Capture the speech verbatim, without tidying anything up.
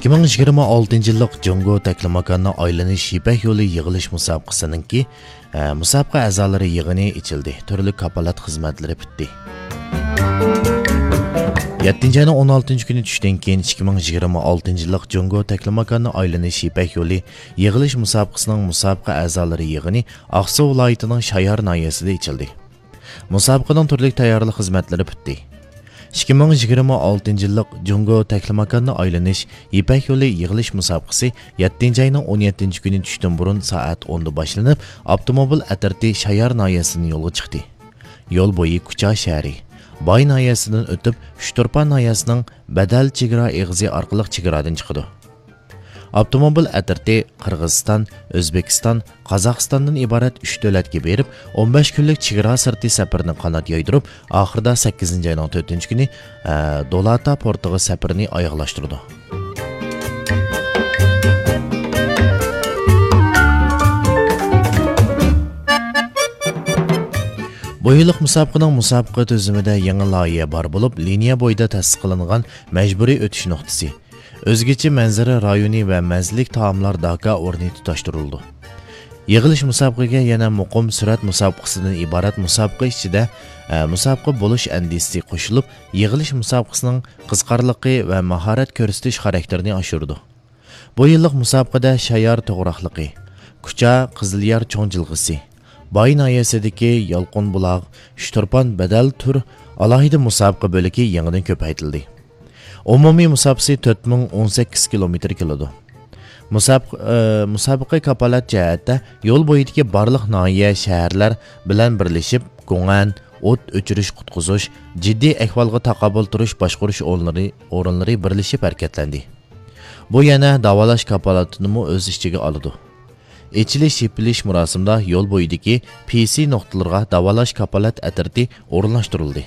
ئىككى مىڭ يىگىرمە ئالتىنچى يىللىق جۇڭگو تەكلىماكاننى ئايلىنىش يىپەك يولى يىغىلىش مۇسابىقىسىنىڭكى، ئە، مۇسابىقە ئەزالىرى يىغىنى ئېچىلدى. تۈرلۈك كاپالەت خىزمەتلىرى پۈتتى. يەتتىنچى ئاينىڭ ئون ئالتىنچى كۈنى چۈشتىن كېيىن ئىككى مىڭ يىگىرمە ئالتىنچى يىللىق جۇڭگو تەكلىماكاننى ئايلىنىش يىپەك يولى يىغىلىش مۇسابىقىسىنىڭ مۇسابىقە ئەزالىرى يىغىنى ئاقسۇ ۋىلايىتىنىڭ شايار ناھىيەسىدە ئېچىلدى. مۇسابىقىنىڭ تۈرلۈك تەييارلىق خىزمەتلىرى پۈتتى. ئىككى مىڭ يىگىرمە ئالتىنچى يىللىق جۇڭگو تەكلىماكاننى ئايلىنىش يىپەك يولى يىغىلىش مۇسابىقىسى يەتتىنچى ئاينىڭ ئون يەتتىنچى كۈنى چۈشتىن بۇرۇن سائەت ئوندا باشلىنىپ، ئاپتوموبىل ئەترىتى شايار ناھىيەسىدىن يولغا چىقتى. يول بويى كۇچا شەھىرى، باي ناھىيەسىدىن ئۆتۈپ، ئۇچتۇرپان ناھىيەسىنىڭ بەدەل چېگرا ئېغىزى ئارقىلىق چېگرادىن چىقىدۇ. ئاپتوموبىل ئەترىتى قىرغىزىستان، ئۆزبېكىستان، قازاقىستاندىن ئىبارەت ئۈچ دۆلەتكە بېرىپ، ئون بەش كۈنلۈك چېگرا سىرتى سەپىرىنى قانات يايدۇرۇپ، ئاخىرىدا سەككىزىنچى ئاينىڭ تۆتىنچى كۈنى، ئە، دولاتا پورتىغا سەپىرىنى ئاياغلاشتۇرىدۇ. بۇ يىللىق مۇسابىقىنىڭ مۇسابىقە تۈزۈمىدە يېڭى لايىھە بار بولۇپ، لىنىيە بويىدا تەسىس قىلىنغان مەجبۇرىي ئۆتۈش نۇقتىسى، ئۆزگىچە مەنزىرە رايونى ۋە مەززىلىك تائاملار داكا ئورنى تۇتاشتۇرۇلىدۇ. يىغىلىش مۇسابىقىگە يەنە مۇقىم سۈرئەت مۇسابىقىسىدىن ئىبارەت مۇسابىقە ئىچىدە، ئە، مۇسابىقە بولۇش ئەندىزىسى قوشۇلۇپ، يىغىلىش مۇسابىقىسىنىڭ قىزىقارلىقى ۋە ماھارەت كۆرسىتىش خاراكتېرىنى ئاشۇرىدۇ. بۇ يىللىق مۇسابىقىدە شايار توغراقلىقى، كۇچا قىزىليار چوڭ جىلغىسى، باي ناھىيەسىدىكى يالقۇن بۇلاغ، ئۇچتۇرپان بەدەل تۈر ئالاھىدە مۇسابىقە بۆلىكى يېڭىدىن كۆپەيتىلدى. ئومۇمىي مۇساپىسى تۆت مىڭ ئون سەككىز كىلومېتىر كېلىدۇ. مۇسابىقە، ئە، مۇسابىقە كاپالەت جەھەتتە يول بويىدىكى بارلىق ناھىيە، شەھەرلەر بىلەن بىرلىشىپ، گۇڭئەن، ئوت ئۆچۈرۈش قۇتقۇزۇش، جىددىي ئەھۋالغا تاقابىل تۇرۇش باشقۇرۇش ئورۇنلىرى، ئورۇنلىرى بىرلىشىپ ھەرىكەتلەندى. بۇ يەنە داۋالاش كاپالىتىنىمۇ ئۆز ئىچىگە ئالىدۇ. ئېچىلىش-يېپىلىش مۇراسىمىدا يول بويىدىكى پى سى نۇقتىلىرىغا داۋالاش كاپالەت ئەترىتى ئورۇنلاشتۇرۇلدى.